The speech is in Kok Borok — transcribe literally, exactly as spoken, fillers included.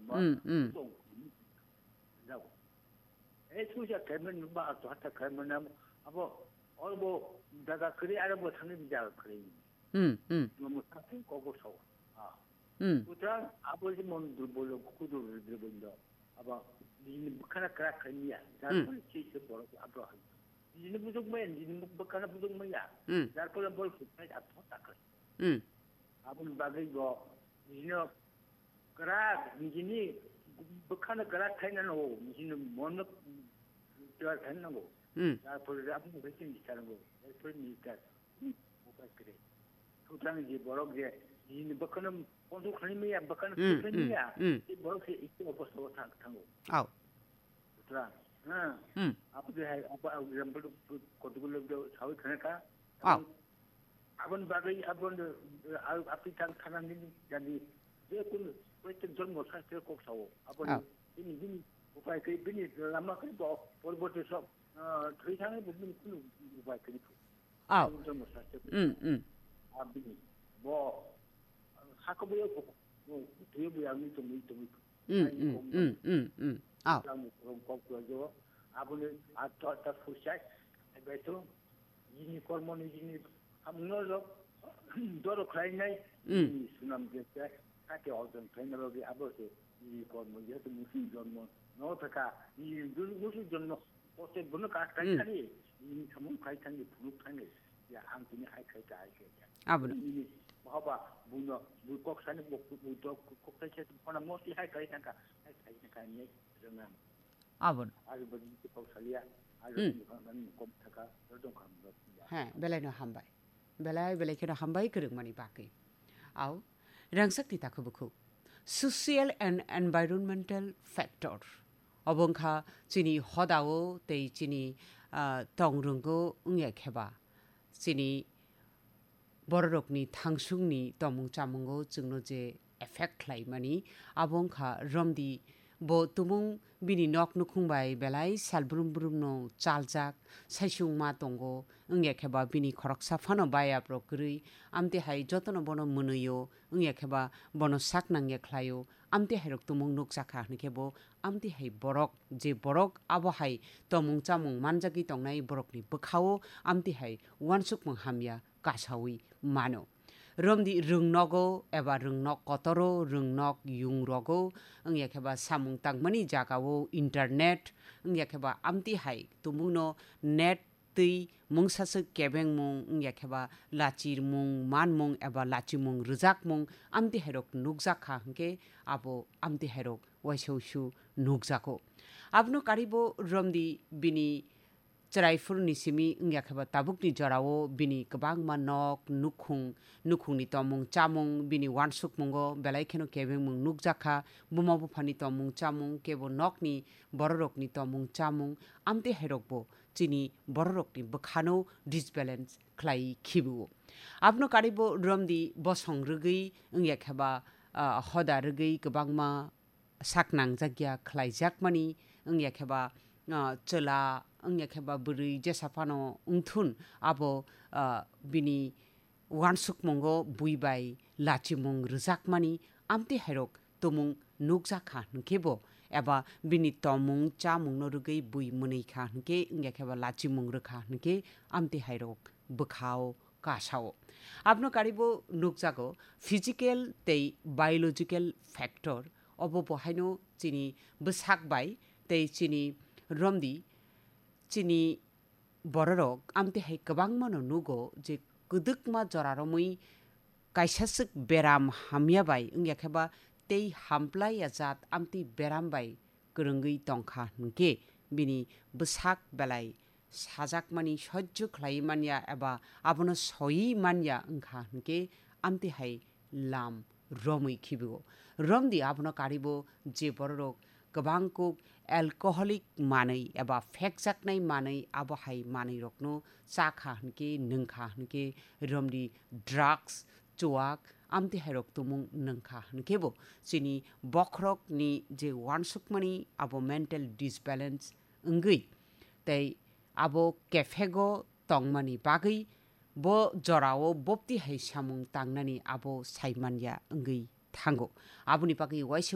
Ba, hmm, hmm, tong, jago. E suja kaiman ba to hata kaiman abo, abo, olbo daga kri ara bo thangni jaga kri. Hmm, hmm. Mo mo thang ko ko so. Ah. Hmm. Putra abo je mon durbol kudur durbol do. Aba ni bkhana kra khania. Jar, hmm, ko chi se boro abro. Ni bujok mai, ni bkhana bujok mai ya. Hmm. Jar ko bol khut mai a thota kri. Hmm. Aboni bagwi bo nini kwrak, nini bwkhano kwrak khaina nango, nini monno kwrak khaina nango. Hmm. Tarpore aboni bagwi chini sango, tarpore minister, hmm, upai kwrwi. Sutrang je borok je nini bwkhano control khlaimaya, bwkhano, hmm, khlaimaya, hmm, hmm, tei borok se isi obostao thang-, thango. Au. Sutrang, ha. Hmm. Apo je hai, apo, apo example kotogulo sawi khana ka. Au. Aboni bagwi aboni, ah, apni thang thana nini jani je kun protek jonmo sastre kok sao. Aboni, ah, bini, bini upai khe bini lama khe bo porbote sok, ah, thwi thangwi bo bini kunu upai khe phu. Au. Aboni jonmo sastre kok. Mm, mm. Abini bo, ah, hako bo yo kok, bo thwi bo ya mi tongwi tongwi. Mm, mm, mm, mm, mm. Au. Aboni ato ta fursat. Beto. Nini kormo ni nini hamno rok doro khlainai, mm, nini sunam je se kake orjon khlaina logi abo se nini kormo je to musi jonmo no thaka nini dun musi jonmo pote bono ka kai, hmm, thani nini samung kai thani phunuk thani ya ang tini hai khai ta hai khai ta. Abo no. Nini baba buno bu kok sani bok bu dok kok kai se phona mo ti hai kai thangka hai khai thangka ni rengam. Abo no. Aro bagi kok salia aro, hmm, ni kok thaka ro dong kam ro. He, belai no hambai. Belai, belai kheno hambai kwrwngmani bagwi. Au, rangchakni takhuk bukhuk. Social and environmental factor. Obo wngkha chini hodao tei chini, ah, tongrwngo wngya kheba. Chini bororokni thangsungni tomung chamungo chwngno je effect khlaimani, abo wngkha romdi bo tumung bini nok nukhung bai belai sal brum brumno chaljak, saisung ma tongo, wngya khe ba bini khoroksa phano bayaprok kwrwi, amtwi hai jotono bono mwnwio, wngya khe ba bono sak nangya khlaio, amtwi hairok tumung nukjakha hwnkhe bo, amtwi hai borok, je borok abo hai tomung chamung manjagwi tongnai borokni bwkhao, amtwi hai uansukmung hamya kasawi mano. Romdi rwngnogo eba rwngnok kotoro, rwngnok yungrogo, wngya khe ba samung tangmani jagao internet, wngya khe ba amtwi hai tumungno net twi mungsaswk kebengmung, wngya khe ba lachirmung, manmung eba lachimung rwjakmung, amtwi hairok nukjak kha hwnkhe abo amtwi hairok waisa usu nukjago. Abono karibo romdi bini chwrai phuruni simi wngya khe ba tabukni jorao bini kwbangma nok, nukhung, nukhungni tomung chamung, bini uansukmungo belai kheno kebengmung nukjakha, buma buphani tomung chamung, kebo nokni bororokni tomung chamung, amtwi hairokbo chini bororokni bwkhano disbalance khlai khibiwo. Abono karibo romdi bosong rwgwi wngya khe ba, ah, hoda rwgwi kwbangma sak nangjakya khlaijakmani, wngya khe ba, ah, chwla, wngya khe ba bwrwi jesa phano wngthun, abo, ah, bini uansukmungo bui bai lachimung rwjakmani, amtwi hairok tumung nukjak kha hwnkhe bo, eba bini tomung chamungno rwgwi bui mwnwi kha hwnkhe, wngya khe ba lachimung rwkha hwnkhe, amtwi hairok bwkhao kasao. Abno karibo nukjago physical tei biological factor, obo bo haino chini bwsak bai tei chini romdi, chini bororok amtwi hai kwbangmano nugo je kwdwkma jora romwi kaisaswk beram hamya bai wngya khe ba tei hamplaiya jat amtwi beram bai kwrwngwi tongkha hwnkhe bini bwsak belai sajakmani sojjo khlaiwi manya eba abono soiwi manya wngkha hwnkhe amtwi hai lam romwi khibigo. Romdi abono karibo je bororok kwbang kuk alcoholic manwi eba phekjaknai manwi abo hai manwirokno chakha hwnkhe, nwngkha hwnkhe, romdi drugs, chuak, amtwi hairok tumung nwngkha hwnkhe bo chini bokhorokni je uansukmani abo mental disbalance wngwi tei abo kephego tongmani bagwi bo jorao bopti hai samung tangnani abo saimanya wngwi thango. Aboni bagwi waisa